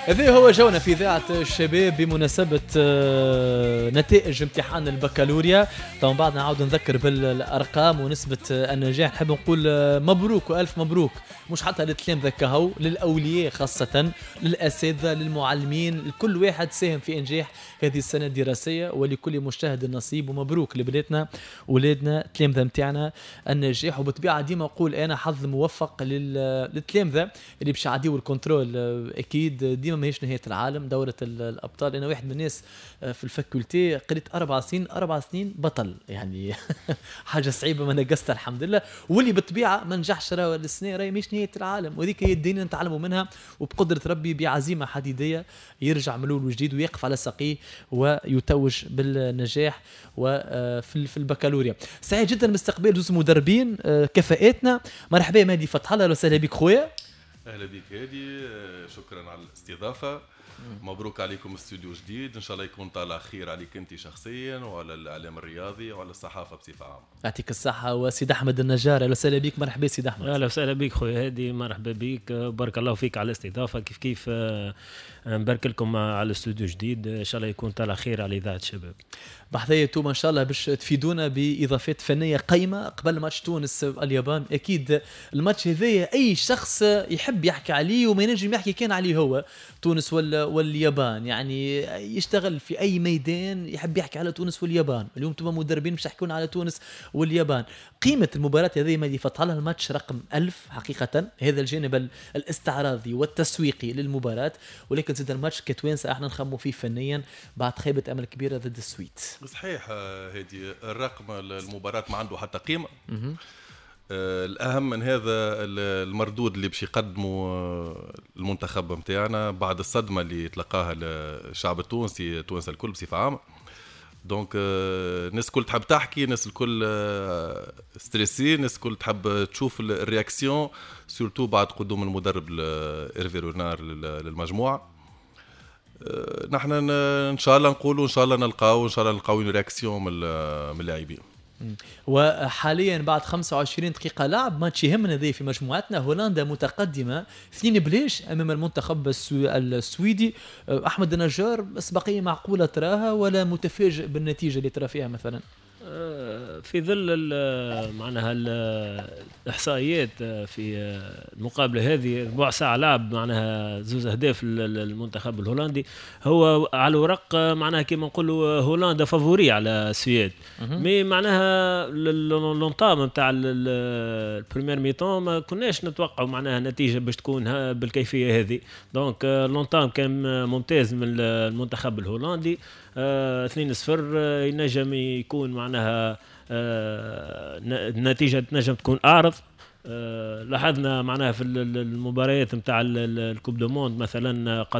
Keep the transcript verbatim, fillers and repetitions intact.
هذا هو جونا في إذاعة الشباب بمناسبة آه، نتائج امتحان البكالوريا. طبعا بعد نعاود نذكر بالأرقام ونسبة النجاح. نحب نقول آه، مبروك وألف مبروك، مش حتى للتلامذة كهو، للأولياء خاصة، للأساتذة، للمعلمين، لكل واحد ساهم في إنجاح هذه السنة الدراسية، ولكل مجتهد نصيب. ومبروك لبناتنا، ولادنا، التلامذة نتاعنا النجاح. وبالطبيعة ديما نقول أنا حظ موفق للتلامذة اللي باش يعديوا ال contrôle. آه، أكيد ديما ماهيش نهاية العالم دورة الأبطال. أنا واحد من الناس آه، في ال faculté قريت أربع سنين، أربع سنين بطل، يعني حاجة صعيبة ما نقصتها الحمد لله. واللي بالطبيعة ما نجحش راه السنة راهي مش نهاية العالم، وهذيك هي الدنيا نتعلموا منها، وبقدرة ربي بعزيمة حديدية يرجع من الأول وجديد ويقف على ساقيه ويتوج بالنجاح وفي في البكالوريا. سعيد جدا باستقبال زوز مدربين آه، كفاءاتنا. مرحبا مهدي فتح الله، اهلا وسهلا بك خويا. اهلا بك هادي، شكرا على الاستضافه. مبروك عليكم استوديو جديد، ان شاء الله يكون طالع خير عليك انت شخصيا وعلى الاعلام الرياضي وعلى الصحافة بصفة عامه. يعطيك الصحه. وسيد احمد النجار، اهلا وسهلا بك، مرحبا سيد احمد. اهلا وسهلا بك خويا هادي، مرحبا بك، بارك الله فيك على الاستضافه. كيف كيف آه، نبارك لكم على الاستوديو جديد، ان شاء الله يكون طالع خير على اذاعة الشباب. بحذايا انتم ان شاء الله باش تفيدونا باضافات فنية قيمة قبل ماتش تونس اليابان. اكيد الماتش هذايا اي شخص يحب يحكي عليه وما ينجم يحكي كان عليه هو تونس ولا واليابان، يعني يشتغل في اي ميدان يحب يحكي على تونس واليابان. اليوم انتم مدربين باش تحكون على تونس واليابان. قيمة المباراة هذه ما فتح لها الماتش رقم ألف حقيقه، هذا الجانب الاستعراضي والتسويقي للمباراه، ولكن زاد الماتش كتوانسه احنا نخموا فيه فنيا بعد خيبه امل كبيرة ضد السويد. صحيح هذه، الرقم المباراة ما عنده حتى قيمة. آه، الاهم من هذا المردود اللي باش يقدمه آه، المنتخب نتاعنا بعد الصدمة اللي تلقاها الشعب التونسي، التوانسة الكل بصفة عامه. donc آه، الناس الكل تحب تحكي، الناس الكل stressés، الناس الكل تحب تشوف ال réaction، surtout بعد قدوم المدرب ايرفي رونار للمجموعه. نحن ان شاء الله نقولوا ان شاء الله نلقاو ان شاء الله نلقاو réaction من اللاعبين. وحاليا بعد خمسة وعشرين دقيقة لعب، ماتش يهمنا ذي في مجموعتنا، هولندا متقدمة اثنين بلاش أمام المنتخب السويدي. أحمد النجار، أسبقية معقولة تراها ولا متفاجئ بالنتيجة اللي ترى فيها مثلا؟ آه، في ظل معناها الاحصائيات في المقابلة هذه، ربع ساعة لعب معناها زوز اهداف للمنتخب الهولندي. هو على الورق معناها كما نقولوا هولندا favori على السويد، mais معناها l'entame نتاع ال première mi-temps ما كناش نتوقعوا معناها النتيجة باش تكون بالكيفية هذه. donc l'entame كان ممتاز من المنتخب الهولندي، اثنين صفر ينجم يكون معناها النتيجة تنجم تكون اعرض. آه، لاحظنا معناها في المباريات نتاع ال coupe du monde مثلا.